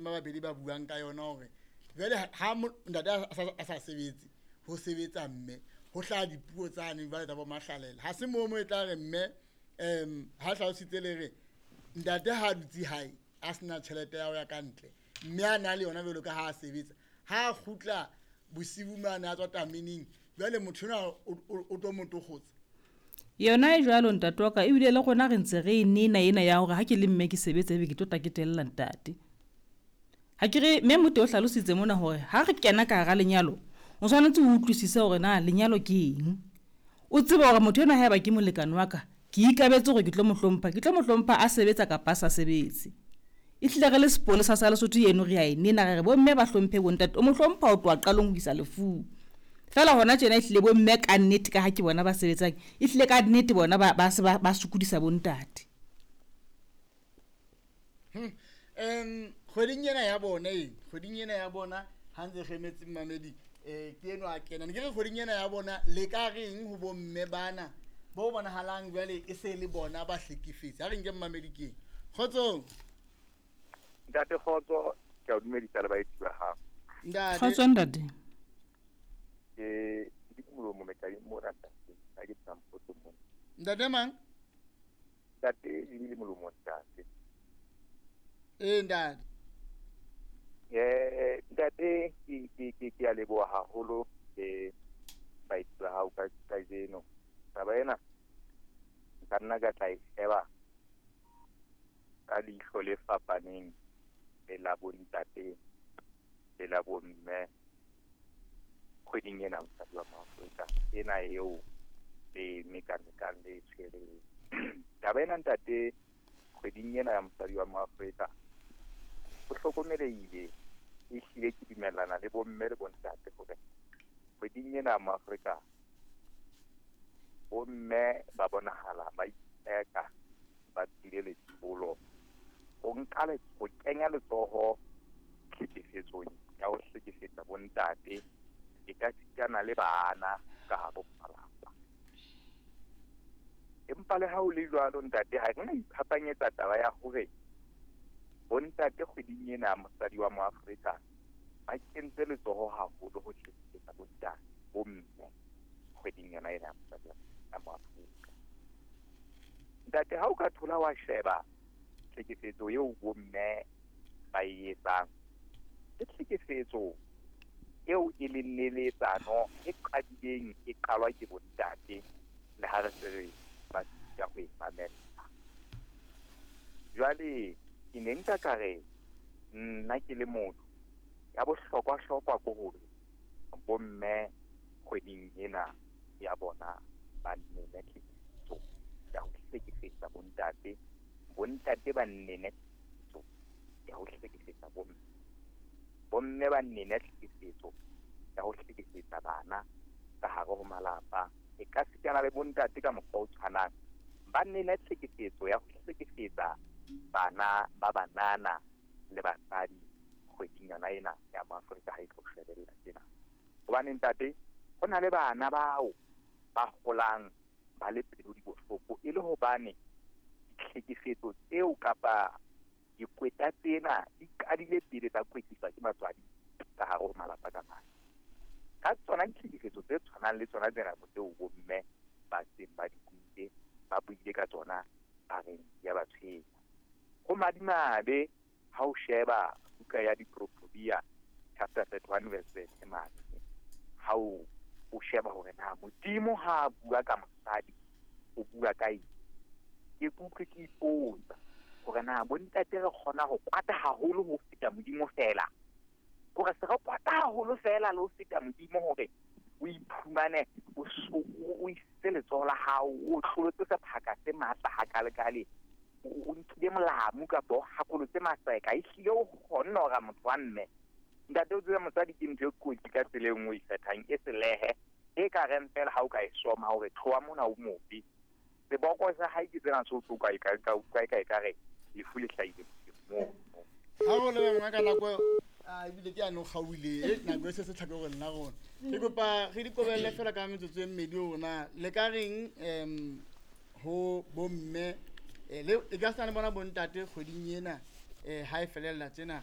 Ba babedi ba buang ka yona hore jwale ha ntate a sa sebetse, ho sebetsa mme, ho hlaha dipuo tsane jwale tsa bo mahlalela. Ha se moo mo e tla re mme ha hlalositse le re ntate ha dutse hae a sena tjhelete ya ho ya ka ntle, mme a na le yona jwalo ka ha a sebetsa, ha a kgutla bosiu mane a tswa tameneng, jwale motho enwa o tlo mo tokgotsa. Yona e jwalo ntate wa ka, ebile le rona re ntse re e nena ena ya hore ha ke le mme ke sebetsa ebe ke tlo tla ke tella ntate. Ha ke re mme Mote o hlalositse mona hore ha re kena ka hara lenyalo, o tshwanetse o utlwisise hore na lenyalo ke eng. O tsebe hore motho enwa haeba ke molekane wa ka, ke ikabetse hore ke tlo mo hlompha, ke tlo mo hlompha a sebetsa kapa a sa sebetse. Ehlile re le sepolesa sa Lesotho eno re a e nena, re re bomme ba hlomphe bontate. O mo hlompha ho tloha qalong ho isa lefung. Feela hona tjena ehlile bomme ka nnete ka ha ke bona ba sebetsang, ehlile ka nnete bona ba se ba sokodisa bontate. Kgweding ena ya bona e, kgweding ena ya bona ha ntse re emetse mmamedi, ke enwa a kena. Ne ke re kgweding ena ya bona le ka reng ho bomme bana bo bonahalang jwale e se le bona ba hlekefetse. Ha re nke mmamedi keng. Kgotsong. Ntate Kgotso, ke a o dumedisa le baeti ba hao. Ntate. Kgotso ntate. Ke di molomo mekadi mona ntate, ha ke tsang potso mona. Ntate mang? Ntate di le molomo ntate. Ntate. Ntate ke a leboha haholo le baeti ba hao ka kajeno. Taba ena nka nna ka tla e sheba ka leihlo le fapaneng le la bontate le la bomme kgweding ena mosadi wa Maafrika ena eo le mekamekang le tshwereng. Taba ena ntate kgweding ena ya mosadi wa Maafrika ho hlokomelehile, ehlile ke dumellana le bomme le bontate hore kgweding ena ya Maafrika bomme ba bonahala ba itseka ba tswile letsholo ho nka ho kenya letsoho tlhekefetsong ya ho hlekefetsa bontate e ka sitana le bana ka hare ho malapa. Empa le ha ho le jwalo ntate, ha re na iphapanyetsa taba ya hore bontate kgweding ena mosadi wa Moafrika ba kentse letsoho haholo ho hlekefetsa bontate bomme kgweding yona ena ya mosadi wa Moafrika. Ntate, ha o ka thola wa sheba tlhekefetso eo bomme ba e etsang, ke tlhekefetso eo e leng neletsano e qadileng e qalwa ke bontate le ha re se re ba sita ho e mamella. Jwale ke ne nka ka re nna ke le motho ya bohlokwa-hlokwa ke hore bomme kgweding ena ya bona ba nene tlhekefetso ya ho hlekefetsa bontate, bontate ba nene tlhekefetso ya ho hlekefetsa bomme, bomme ba nene tlhekefetso ya ho hlekefetsa bana ka hare ho malapa. E ka sitana le bontate ka mokgwa o tshwanang ba nene tlhekefetso ya ho hlekefetsa bana ba banana le basadi kgweding yona ena ya Maafrika ha e tlo shebella tjena. Hobane ntate, ho na le bana bao ba holang ba le pelo di bohloko e le hobane ditlhekefetso tseo kapa dikweta tsena di qadile pele tsa kwetliswa ke batswadi ka hare ho malapa ka mang. Ka tsona ditlhekefetso tse tshwanang le tsona tsena tseo bomme ba seng ba di buile, ba buile ka tsona ba reng ya ba tshwenya. Ho madimabe ha o sheba buka ya Diproverbia chapter 31 verse 7 mane, ha o sheba hore na Modimo ha a bua ka mosadi o bua ka eng, ke kutlwe ke ipotsa hore na bontate re kgona ho kwata haholo ho feta Modimo fela, hore se re kwata haholo fela le ho feta Modimo hore o iphumane o isitse letsoho la hao, o hlolotse sephaka se matla hakalekale, o nkile molamu kapa o hakolotse maseka, ehlile o kgonne hore motho wa mme. Ntate, o tsebe mosadi ke ntho e kotsi ka tsela e nngwe e ikgethang, e selehe, e ka reng fela ha o ka e soma hore tloha mona o mobe. Seboko sa hae ke tsena seo ka ka ka re lefu le hlahile moo. Ha o le ngaka ka nako a ebile ke ano kgaoile nako e se se tlhake gore nna rona. Ke kopa re di kobelle fela ka metsotso e mmedi rona le ka reng ho bomme le e ka sena le bona bontate kgweding ena ha e felella tjena